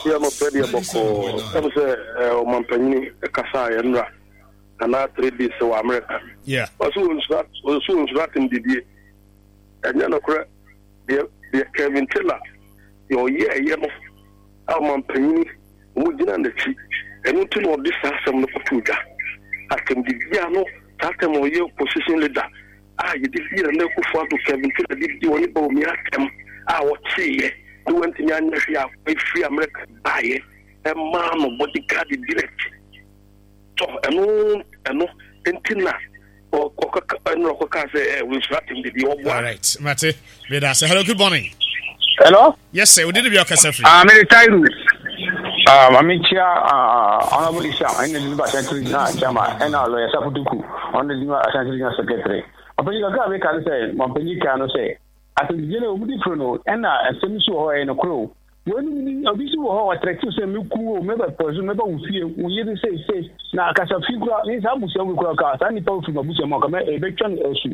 Yɛ no pɛ deɛ bɔkɔɔ ɛm sɛ ɔmampanyini kasa a yɛnnora anaa three days wɔ Amerika. Yeah. Ɔso wɔnsura ɔso wɔnsura atem didie. Ɛnyɛ nokorɛ deɛ deɛ Kevin Taylor deɛ ɔyɛ ɛyɛ no a ɔmampanyini wɔn gyina n'akyi ɛno nti na ɔde saa asɛm no kɔto dwa. Atem didie ano saa asɛm ɔyɛ opposition leader a yɛde di Nana Akufo-Addo Kevin Taylor de di ɔne Bawumia atɛm a ɔkyeeɛ ne wantumi anyɛ hwee a ɛfiri Amerika baeɛ ɛmaa no bodyguard di n'akyi tɔ ɛno ɛno nti na ɔkɔka ɛno ɔkɔka sɛ ɛ wɔnsura atɛm didi ɔboa. All right, mate meda ase. Hello, good morning. Hello. Yes sir, odi ne bi ɔkasa firi. Ah, mede Tairu. Ah, mame kyia ah, Honorable Isa, ɛna Diniba Ashanti Regional Chairman, ɛna Lawyer Safutuku, ɔno Diniba Ashanti Regional Secretary. Ɔpanyin kakra a meka ne sɛ, ɔpanyin kan no sɛ, asɛmdidie no wɔn di firi no, ɛna nsɛm nso wɔ hɔ ɛyɛ nokorɛ o. Wɔn ni obi nso wɔ hɔ wɔtrɛtew sɛ meku o, mɛbɛ pɔsu, mɛbɛ wo fie, wo yere sei sei, na kasa fi kura, ne saa abusua wo kura ka, saa nipa wo firi m'abusua mu a, kama ɛbɛtwa no asu.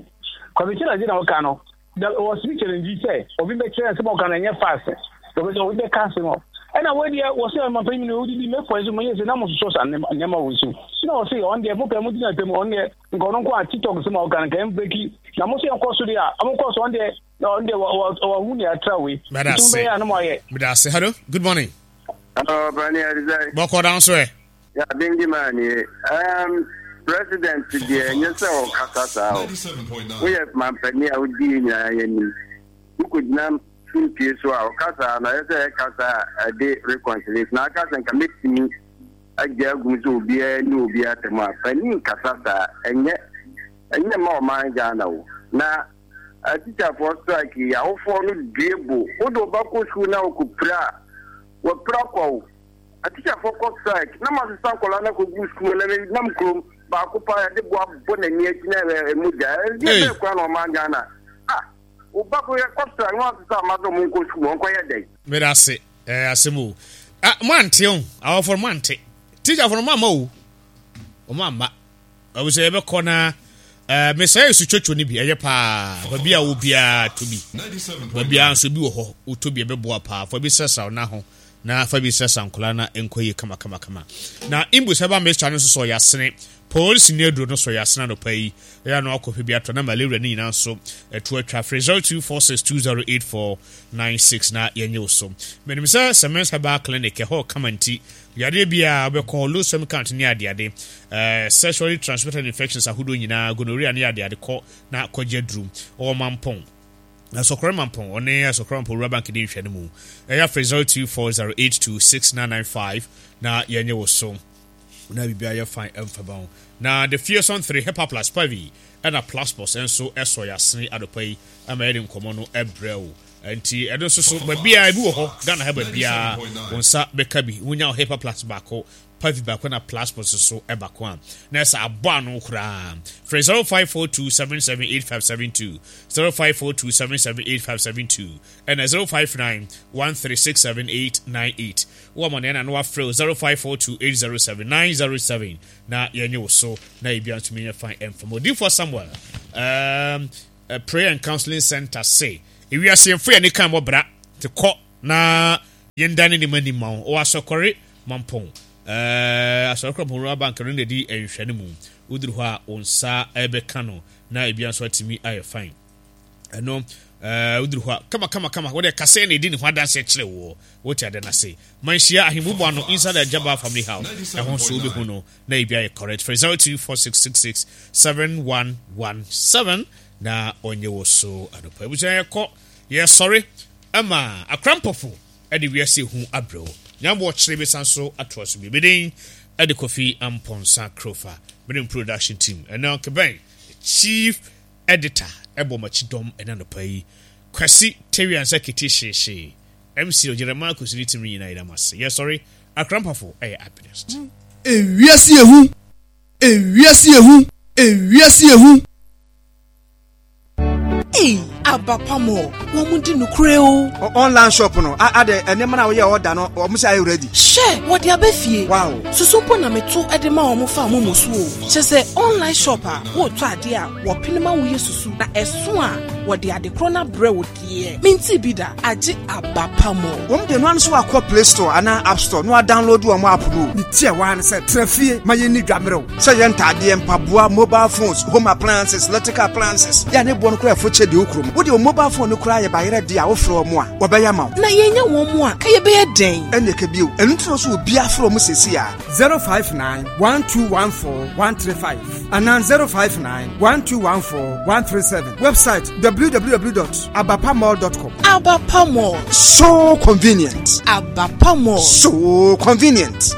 Kwame Kyerɛ na wɔka no, da wɔsimi challenge sɛ obi bɛkyerɛ nsɛm a ɔka no ɛnyɛ fast wɔbɛ sɛ obi bɛka asɛm a ɛna wei deɛ wɔsɛ ɔmampanyin no wodidi mɛfɔ nso mɛyɛ sɛ na mososɔ sa nneɛma wɔ so na wɔsɛ ɔn deɛ mopɛ mo gyina pɛ mu ɔn deɛ nka ɔno nko a tiktok sɛm a ɔka no nka ɛmbreki na mo sɛ yɛnkɔ so deɛ a ɔmokɔ so ɔn deɛ ɔn deɛ wɔhu nea atra wei nti mobɛyɛ a na moayɛ. Meda ase. Hello, good morning. Hello, Brani Adizai. Bɔkɔ down so ɛ. Ya bengi man ye. Um, president deɛ ɛnyɛ sɛ ɔkasa saa o. Woyɛ mampanin a wodi yɛ nyinaa yɛnim. Wokɔgyina simpie so a ɔkasa na ɛyɛ sɛ ɛkasa a ɛde reconciliation. Na aka sɛ nka mɛtumi agya agum sɛ obiara ne obiara atɛm a panin kasa saa ɛnyɛ ɛnyɛ ma ɔman Ghana o. Na atikyafoɔ strike yi awofoɔ no due bo. Wode wo ba kɔ sukuu na wokɔpira a wɔpira kɔ wo. Atikyafoɔ kɔ strike na masesa nkɔla no akɔgu sukuu na nam kurom baako paa yɛde boa bɔ n'ani akyi na ɛmu gya ɛdeɛ bɛɛ kora na ɔman Ghana ah wo ba kɔ kɔ strike na wasesa ama sɛ ɔmo nkɔ sukuu ɔnkɔyɛ dɛn. Meda ase ɛɛ asɛm o ah mo ante o awɔfoɔ no mo ante teacherfoɔ no mo amma o ɔmo amma ɛwɔ sɛ yɛbɛkɔ na ɛɛ mesɛ yɛ sutwotwo no bi ɛyɛ paa baabi a wɔ biara to bi baabi a nso bi wɔ hɔ wotɔ bi ɛbɛboa paa fa bi srɛsrɛ wo na ho na fa bi srɛsrɛ nkɔla na nkɔ yie kama kama kama na imbu sɛ ba mixture no nso sɔ yasene polisi ne aduro no sɔ yasene anɔpa yi ɛyɛ ano akɔpɛ bi atɔ na malaria ne nyinaa nso ɛto atwa frɛ zero two four six two zero eight four nine six na yɛnyɛ wo so menim sɛ Semens Herbal Clinic ɛhɔ kama nti yadeɛ biara wobɛkɔ low sperm count ne adeade ɛɛ sexually transmitted infections ahodoɔ nyinaa gonorrhea ne adeade kɔ na kɔgye aduru ɔwɔ mampɔn Asɔkɔrɔ mampɔn ɔne Asɔkɔrɔ mampɔn Rural Bank di nhwɛ no mu ɛyɛ afrɛ zero two four zero eight two six nine nine five na yɛnyɛ wo so na biribiara yɛ fine ɛmfa ba ho na the fearson three hepa plus pavi ɛna plus plus nso ɛsɔ yɛasene adɔpa yi ama yɛde nkɔmmɔ no ɛbrɛ wo nti ɛno nso so baabiara ebi wɔ hɔ Ghana ha baabiara wo nsa bɛka bi wonya hepa plus baako Pavi baako na Plasmos so baako a na ɛsɛ abɔ ano koraa. Frɛ zero five four two seven seven eight five seven two, zero five four two seven seven eight five seven two, ɛna zero five nine one three six seven eight nine eight. Wɔ ama nea na no afrɛ zero five four two eight zero seven nine zero seven na yɛnyɛ wo so na ebi antumi nyɛ fine ɛmfam. Odiyifoɔ Samuel um, uh, Prayer and Counseling Center se ewiase yɛmfo yɛn kan bɔ bra te kɔ na yɛndane ne ma ni ma wo. Wɔ asɔkɔre mampɔn eh asɔkɔre mampɔn rural bank no na di nhwɛ no mu. Woduru hɔ a wo nsa ɛbɛka no na ebi nso atumi ayɛ fine. Ɛno eh woduru hɔ a kama kama kama wode kasa na edi ne ho adanse kyerɛ wo. Wote ade na se manhyia ahemmu ano inside the Jabba family house. Ɛho nso wobɛhu no na ebi ayɛ correct. Frɛ zero two four six six six seven one one seven na ɔnyɛ wo so anɔpa. Ebusua yɛkɔ yɛsɔre ama akrampɔfo ɛde wiase hu abrɛw. Nyambo ɔkyerɛ bi san so atoa so bi. Bedin ɛde Kofi Amponsa Krofa. Mene production team. Ɛna Keben chief editor ɛbɔ makyi dɔm ɛna anɔpa yi. Kwasi Teriansa Kete Hyehye. M C Jeremiah Kwesi team nyinaa yɛda mo ase. Yɛsɔre akrampɔfo ɛyɛ happiness. Ewiase ehu. Ewiase ehu. Ewiase ehu. Hey, Abapamo, wɔn di nukure o. Online shop no, ade nneɛma na woyɛ order no, wɔn sɛ ayɛ ready. Hyɛ, wɔde abɛ fie. Wow. Susu mpo na meto de ma wɔn fa wɔn mo so o. Kyɛ sɛ online shop a wɔretɔ ade a wɔpene ma woyɛ susu na ɛso a wɔde ade korɔ na brɛ wo deɛ. Minti bi da, agye Abapamo. Wɔn de no ano so akɔ Play Store anaa App Store no a download wɔn app no. Ne tie wa ne sɛ tra fie ma yɛn ni dwamerɛw. Sɛ yɛn ntaadeɛ, mpaboa, mobile phones, home appliances, electrical appliances. Ya ne boɔ no kora ɛfo kyɛ de okuro mu. Wode wo mobile phone no kora yɛ bayerɛ de a wofrɛ wɔn a wɔbɛyɛ ma wo. Na yɛnya wɔn mu a ka yɛbɛyɛ dɛn? Ɛne ka bio. Ɛno nti na so obi afrɛ wɔn sɛsi a zero five nine one two one four one three five anaa zero five nine one two one four one three seven. Website w w w dot abapamall dot com. Abapamall. So convenient. Abapamall. So convenient.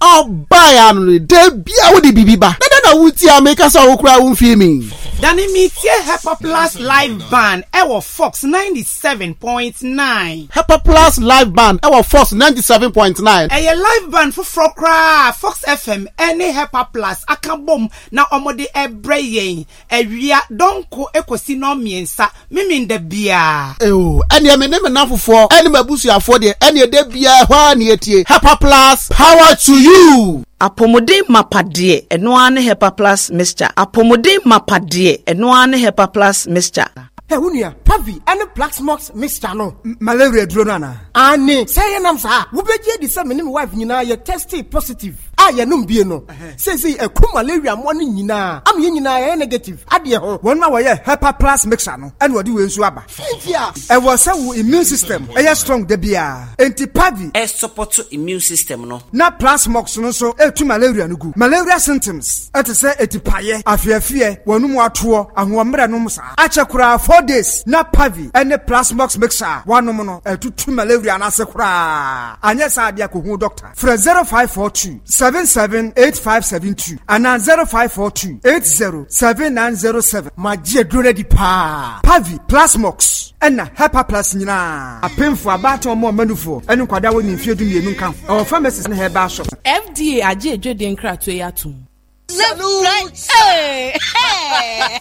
Ọba no de bia wo de bibi ba. Dada na wuti America sa wo kura wo mfi mi. Dani mi tie Hepa Plus Live Band ɛwɔ Fox ninety-seven point nine. Hepa Plus Live Band ɛwɔ Fox ninety-seven point nine. Ɛyɛ live band foforɔ koraa Fox F M ɛne Hepa Plus aka bom na ɔmode ɛbrɛ yɛn awia dɔnko ekosi no mmiɛnsa mimi nda bia. Ewo ɛne me ne me nafofoɔ ɛne mabusuafoɔ deɛ ɛne de bia hɔ a ne etie Hepa Plus power to you. Apomuden mapadeɛ ɛno ara ne Hepa Plus mixture. Apomuden mapadeɛ ɛno ara ne Hepa Plus mixture. Hey, unia, Pavi, and Plasmox mixture no. Malaria duro no ana? Ani, say ye nam sa. Wubeje di say me ne me wife nyina ye tested positive. Ah, ye num bie no. Say say e ku malaria mo ne nyina. Am ye nyina ye negative. Ade ho. Won ma wo ye Hepa Plus mixture no. And wodi we nsu aba. Intia. E wo say wo immune system e ye strong de bia. Enti Pavi e support immune system no. Na Plasmox no so e tu malaria no gu. Malaria symptoms e te say etipaye, afiafie, wonum atoɔ, ahoɔmmerɛ nom sa. Akyɛ four days na Pavi ene Plasmox mixture wanom no etutu malaria na se kra anya sa ade akohu doctor frɛ zero five four two seven seven eight five seven two and zero five four two eight zero seven nine zero seven. Magye duro di pa Pavi Plasmox ena Hepa Plus nyina apemfo abato mo manufo ene nkwada wo ni mfie du mienu nka o pharmacy ne herbal shop. F D A agye edwede nkrato ya atum. Salute! Hey! Hey!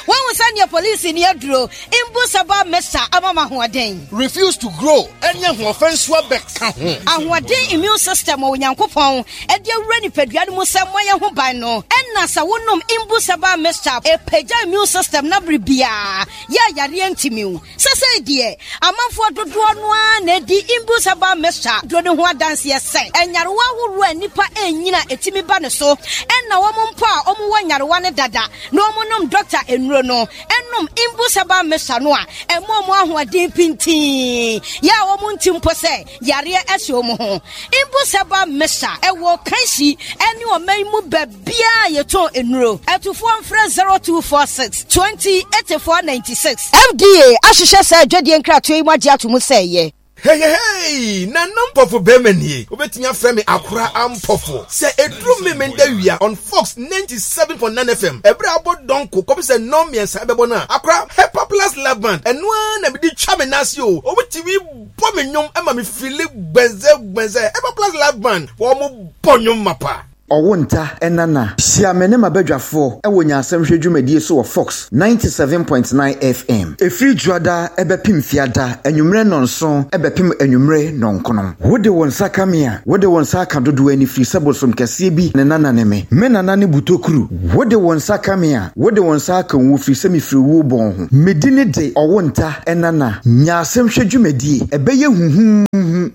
When we send your police in your draw, Imbusaba Mesa Amama Huaden. Refuse to grow, and young offense were back. Ahuaden immune system or Yankopon, and your ready pediamusa Moya Hubano, and Nasa Wunum Imbusaba Mesa, a peja immune system Nabribia, Ya Yariantimu. Sase dear, Amanfo to draw one, the Imbusaba Mesa, Drodon Huadan yes, and Yarwa who nipa enina etimi ba ne so ɛna wɔn mpo a wɔn wɔ nyarewa ne dada na wɔn nom doctor enuro no ɛnom Imbusaba mesa no a ɛmo wɔn ahoɔden pintin yɛ a wɔn nti mpo sɛ yareɛ ɛhyɛ wɔn ho. Imbusaba mesa ɛwɔ kansi ɛne ɔman mu baabiara yɛtɔn enuro. Ɛtufoɔ mfrɛ zero two four six twenty eighty four ninety six. F D A ahyehyɛ sɛ adwadie nkratoɔ yi mu agye ato mu sɛ ɛyɛ. Heyehey! Nana Mpɔfo bɛrima nie. Wobɛtumi afrɛ me Akora Ampɔfo. Sɛ ɛduru Memenda wia on Fox ninety seven point nine F M, ɛberɛ a abɔ dɔnko kɔpem sɛ nnɔn mmiɛnsa ɛbɛbɔ no a, Akora Hepa Plus Love Band, ɛno ara na mede twa me nan ase o. Wɔtumi bɔ me nnwom ma me feeli gbɛnzɛ gbɛnzɛ. Hepa Plus Live Band, wɔn bɔ nnwom mapa. Ɔwo nta nana. Hyia me ne m'abadwafoɔ wɔ Nyansam Hwɛ dwumadie so wɔ Fox ninety seven point nine F M. Ɛfiri Dwoada bɛpem Fiada anwummerɛ nnɔnson bɛpem anwummerɛ nnɔnkron. Wode wo nsa ka me a, wode wo nsa aka dodoɔ ani firi sɛ bosom kɛseɛ bi ne nana ne me. Me nana ne Butokuru. Wode wo nsa ka me a, wode wo nsa aka owuo firi sɛ mefiri owuo bɔn ho. Me dini de Ɔwo nta nana. Nyansam Hwɛ dwumadie, ɛbɛyɛ huhuuhu.